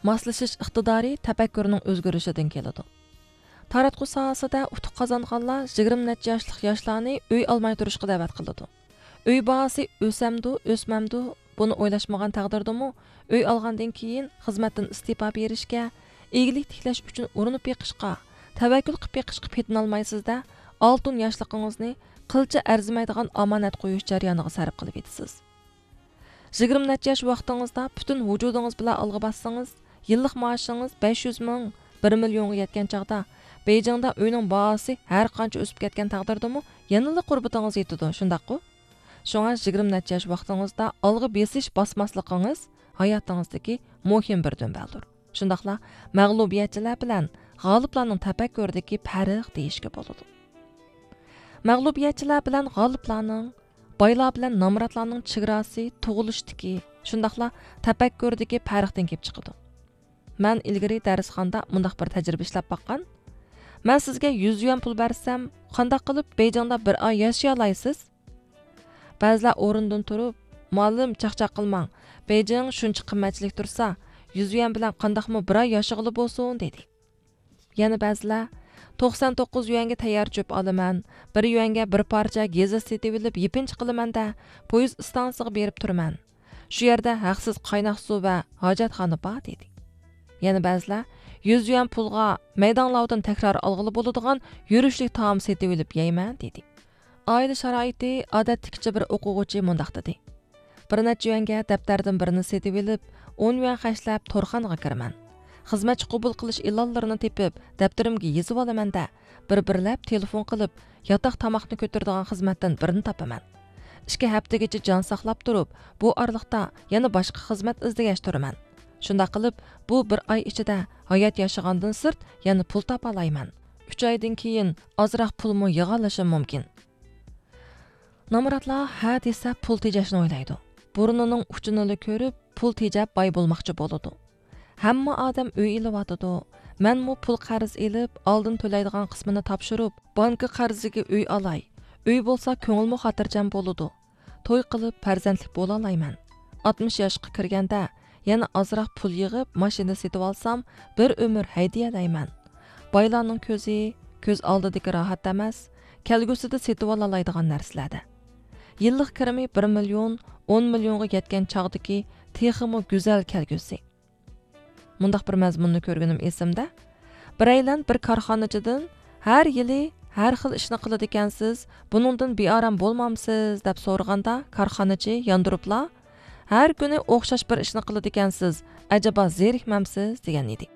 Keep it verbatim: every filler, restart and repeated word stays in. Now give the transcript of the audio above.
ماسلىشىش ئىقتىدارى تەپەككۇرنىڭ ئۆزگىرىشىدىن كېلىدۇ. تاراتقۇ ساھەسىدە ئۇتۇق قازانغانلار يىگىرمە نەچچە ياشلىق ياشلارنى ئۆي ئالماي تۇرۇشقا دەۋەت قىلىدۇ. ئۆي باھاسى ئۆسەمدۇ، ئۆسمەمدۇ، بۇنى ئويلاشمىغان تەقدىردىمۇ، ئۆي ئالغاندىن كېيىن خىزمەتتىن ئىستېپا بېرىشكە، ئىگىلىك تىكلەش ئۈچۈن ئۇرۇنۇپ بېقىشقا، تەۋەككۈل قىلىپ بېقىشقا پېتىنالمايسىز-دە، ئالتۇن ياشلىقىڭىزنى قىلچە ئەرزىمەيدىغان ئامانەت قويۇش جەريانىغا سەرپ قىلىۋېتىسىز. يىگىرمە نەچچە ياش ۋاقتىڭىزدا پۈتۈن ۋۇجۇدىڭىز بىلەن ئالغا باسسىڭىز، يىللىق مائاشىڭىز بەش يۈز مىڭ، بىر مىليونغا يەتكەن چاغدا، بېيجىڭدا ئۆينىڭ باھاسى ھەر قانچە ئۆسۈپ كەتكەن تەقدىردىمۇ، يەنىلا قۇربىتىڭىز يېتىدۇ، شۇنداققۇ؟ شۇڭا يىگىرمە نەچچە ياش ۋاقتىڭىزدا ئالغا بېسىش باسماسلىقىڭىز ھاياتىڭىزدىكى مۇھىم بىر دۈمبەلدۇر. شۇنداقلا مەغلۇبىيەتچىلەر بىلەن غالىبلارنىڭ تەپەككۇرىدىكى پەرق دېيىشكە بولىدۇ. مەغلۇبىيەتچىلەر بىلەن غالىبلارنىڭ، بايلار بىلەن نامراتلارنىڭ چېگراسى تۇغۇلۇشتىكى، شۇنداقلا تەپەككۇرىدىكى پەرقتىن كېلىپ چىقىدۇ. مەن ئىلگىرى دەرسخانىدا مۇنداق بىر تەجرىبە ئىشلەپ باققان. مەن سىزگە يۈز يۈەن پۇل بەرسەم، قانداق قىلىپ بېيجىڭدا بىر ئاي ياشىيالايسىز؟ بەزىلەر ئورنىدىن تۇرۇپ، مۇئەللىم، چاقچاق قىلماڭ، بېيجىڭ شۇنچە قىممەتچىلىك تۇرسا، يۈز يۈەن بىلەن قانداقمۇ بىر ئاي ياشىغىلى بولسۇن، دېدى. يەنە بەزىلەر، توقسان توققۇز يۈەنگە تەييار چۆپ ئالىمەن، بىر يۈەنگە بىر پارچە گېزىت سېتىۋېلىپ يېپىنچا قىلىمەن-دە، پويىز ئىستانسىسىغا بېرىپ تۇرىمەن. شۇ يەردە ھەقسىز قايناق سۇ ۋە ھاجەتخانا بار، دېدى. يەنە بەزىلەر، يۈز يۈەن پۇلغا مەيداڭلاۋدىن تەكرار ئالغىلى بولىدىغان يۈرۈشلۈك تائام سېتىۋېلىپ يەيمەن، دېدى. ئائىلە شارائىتى ئادەتتىكىچە بىر ئوقۇغۇچى مۇنداق دېدى: بىر نەچچە يۈەنگە دەپتەردىن بىرنى سېتىۋېلىپ، ئون يۈەن خەجلەپ تورخانىغا كىرىمەن. خىزمەتچى قوبۇل قىلىش ئېلانلىرىنى تېپىپ، دەپتىرىمگە يېزىۋالىمەن-دە، بىر-بىرلەپ تېلېفون قىلىپ، ياتاق تاماقنى كۆتۈرىدىغان خىزمەتتىن بىرنى تاپىمەن. ئىككى ھەپتىگىچە جان ساقلاپ تۇرۇپ، بۇ ئارىلىقتا يەنە باشقا خىزمەت ئىزدىگەچ تۇرىمەن. شۇنداق قىلىپ، بۇ بىر ئاي ئىچىدە ھايات ياشىغاندىن سىرت يەنە پۇل تاپالايمەن. ئۈچ ئايدىن كېيىن ئازراق پۇلمۇ يىغالىشىم مۇمكىن. نامراتلار ھە دېسە پۇل تېجەشنى ئويلايدۇ. بۇرنىنىڭ ئۇچىنىلا كۆرۈپ، پۇل تېجەپ باي بولماقچى بولىدۇ. ھەممە ئادەم ئۆي ئېلىۋاتىدۇ. مەنمۇ پۇل قەرز ئېلىپ، ئالدىن تۆلەيدىغان قىسمىنى تاپشۇرۇپ، بانكا قەرزىگە ئۆي ئالاي. ئۆي بولسا كۆڭۈلمۇ خاتىرجەم بولىدۇ. توي قىلىپ پەرزەنتلىك بولالايمەن. ئاتمىش ياشقا كىرگەندە يەنە ئازراق پۇل يىغىپ ماشىنا سېتىۋالسام، بىر ئۆمۈر ھەيدىيەلەيمەن. بايلارنىڭ كۆزى كۆز ئالدىدىكى راھەت ئەمەس، كەلگۈسىدە سېتىۋالالايدىغان نەرسىلەردە. يىللىق كىرىمى بىر مىليون، ئون مىليونغا يەتكەن چاغدىكى تېخىمۇ گۈزەل كەلگۈسى. مۇنداق بىر مەزمۇننى كۆرگىنىم ئېسىمدە. بىرەيلەن بىر كارخانىچىدىن، «ھەر يىلى ھەر خىل ئىشنى قىلىدىكەنسىز، بۇنىڭدىن بىئارام بولمامسىز؟» دەپ سورىغاندا، كارخانىچى ياندۇرۇپلا، «ھەر كۈنى ئوخشاش بىر ئىشنى قىلىدىكەنسىز، ئەجەبا زېرىكمەمسىز؟» دېگەن ئىدى.